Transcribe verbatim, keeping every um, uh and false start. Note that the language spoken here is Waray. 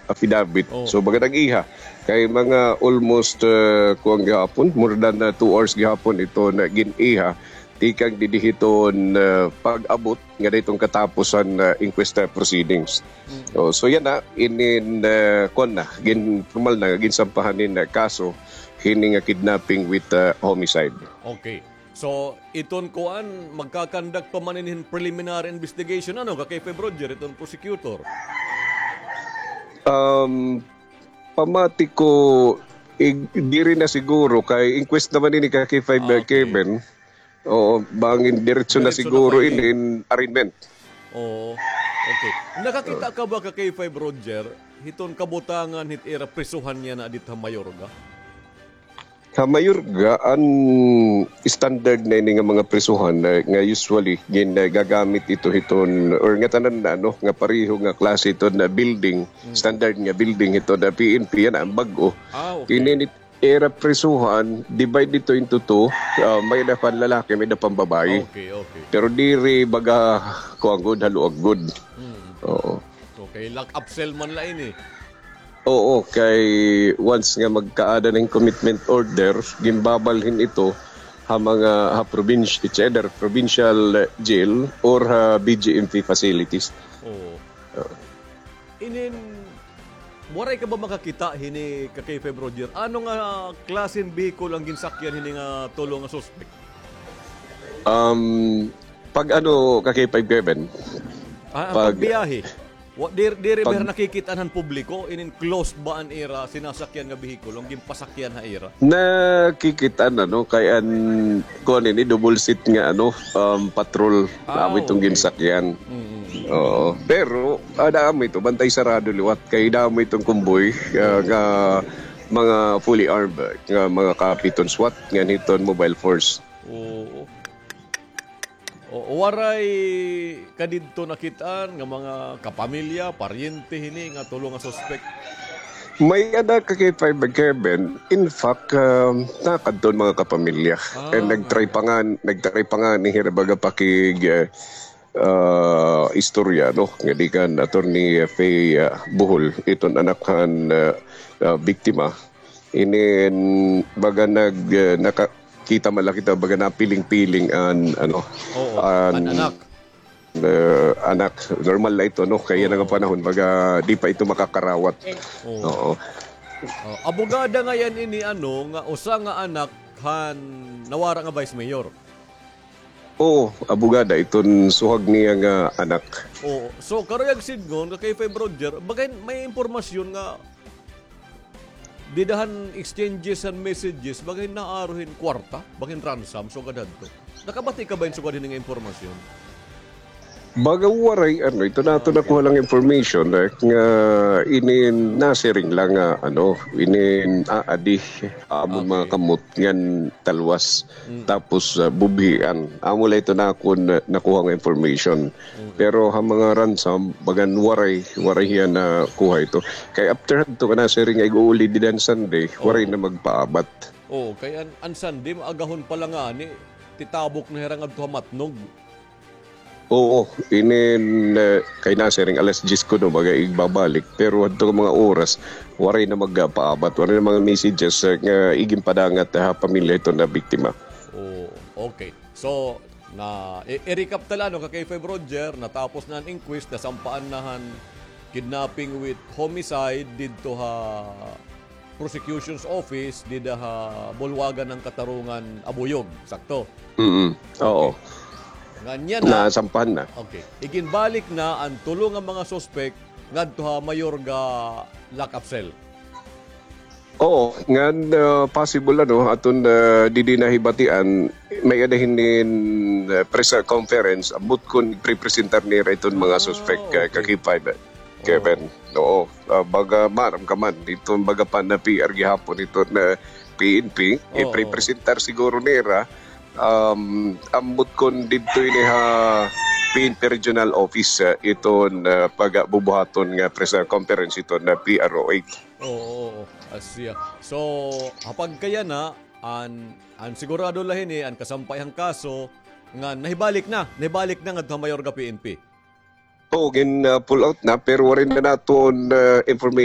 affidavit. Oh. So, baga nag-iha. Kay mga almost, uh, kuwan gihapon, more than, uh, two hours gihapon iton gin-iha. Tikang didi hiton, uh, pag-abot nga dida hiton katapusan, uh, inquest, uh, proceedings. Mm. Oh, so yana, inin, uh, kuwan na, gin-, formal na, ginsampahan hin, uh, kaso, hini nga kidnapping with, uh, homicide. Okay. So, iton kuan, magka-conduct pa man ini hin preliminary investigation, ano, ka K five Roger, iton prosecutor? Um, pamati ko, ig-, diri na siguro, kay inquest naman ini ka K five, ah, okay, Kevin. Oo, bangin diretso na siguro ini hin arraignment. Oo. Okay. Nakakita ka ba ka K five Roger, hiton kabutangan hit ira prisuhan yana dida ha Mayorga? Ha Mayorga, an standard na ini nga mga prisuhan, eh, nga usually gin-, eh, gagamit ito hiton, or ngatanan na, ano, nga pareho nga klase ito na building, mm, standard nga building ito na P N P, yana an bag-o. Ah, okay. Ini ira prisuhan, divide ito into two, ah, may-ada panlalaki, may-ada pambabaye. Okay, okay. Pero diri baga kuan gud, haluag gud. Mm. Oo. Okay, lock-up cell man la ini. Oo, kay once nga magkaada hin commitment order, ginbabalhin ito ha mga, ha provinci-, it's either provincial jail or ha B J M P facilities. Oo. Oo. Inin, waray ka ba makakita hini ka K five Roger? Ano nga klase hin behikulo an ginsakyan hini nga tulo nga suspek? Um, pag ano, ka K five Kevin? Ah, pag pagbiyahe. Wa-, dir-, diri ba nakikit-an han publiko, inin closed ba an ira sinasakyan nga behikulo, an ginpasakyan ha ira? Nakikit-an, ano, kay an, kuan ini, double seat nga, ano, um, patrol, ah, amo iton ginsakyan. Mm-mm. Oo. Pero, ah, damo ito, bantay sarado liwat, kay damo iton convoy, ah, nga mga fully armed, nga mga kapiton SWAT, ngan hiton mobile force. Oo. O, waray ka didto nakit-an nga mga kapamilya, paryente hini nga tulo nga suspek? May-ada ka K five Kevin. In fact, um, nakadto an mga kapamilya. Ah, and nagtry pa nga, nagtry pa nga ni hira baga pakig, uh, uh, istorya, no? Nga di kan Attorney Faye, uh, Bohol, iton anak han, uh, uh, biktima. Inin baga nag, uh, naka-, kita man la kita baga napiling-piling an, ano, oo, an, an anak. Uh, anak. Normal la ito, no? Kay yana nga panahon, baga di pa ito makakarawat. Oo. Oo. Oh, abogada ngay-an ini, ano, nga usa nga anak han nawara nga vice mayor. Oo, abogada, iton suhag niya nga anak. Oo. So, karuyag sidngon, ka K five Roger, baga hin may impormasyon nga dida han exchanges han messages, baga hin naaro hin kwarta, baga hin ransom, sugad hadto. Nakabati ka ba hin sugad hini nga impormasyon? Baga waray, ano, ito na, ito nakuha lang information, eh, nga inin nasiring lang nga, ano, inin aadi, amon mga kamot ngan talwas. Mm. Tapos, ah, bubhian. Amo la ito na akon, ah, nakuha nga information. Mm. Pero ha mga ransom, bagan waray, waray hiya nakuha ito. Kay after hadto, kana siring nga ig-uuli dida han Sunday, waray na magpaabat. Oo, kay an, an Sunday, maagahon pa la ngani, titabok na hira ngadto ha Matnog. Oo, inin, eh, kay nasiring alas diyes kuno baga igbabalik, pero hadto nga mga oras, waray na magpaabat, waray na mga messages, eh, nga iginpadangat ha pamilya hiton nga biktima. Oo, okay. So, na, i-, i-recap ta la, no, ka K five Roger, natapos na an inquest, nasampaan na han kidnapping with homicide didto ha prosecution's office dida ha bulwagan han katarungan Abuyog, sakto? Mm, oo. Ngan yana, nasampahan na. Okay. Iginbalik na an tulo nga mga suspek ngadto ha Mayorga lock-up cell. Oo, ngan, ah, possible, ano, aton, ah, didi nahibatian, may-ada hinin, ah, press conference, ambot kon prepresentar nira iton mga suspek, ah, okay, ka K five. Kevin. Oo. Ah, baga maaram ka man, iton baga pa na P R gihapon iton P N P, iprepresentar siguro nira, um, ambot kon didto ini ha P N P Regional Office, ah, iton, ah, pagabubuhaton nga press conference iton P R O H. Oo, oo, oo. Asya. So, ha pagkayana, an, an sigurado la hini, an kasampay han kaso, nga nahibalik na, nahibalik na ngadto ha Mayorga P N P. Oo, gin, ah, pull out na, pero waray na naton, ah, information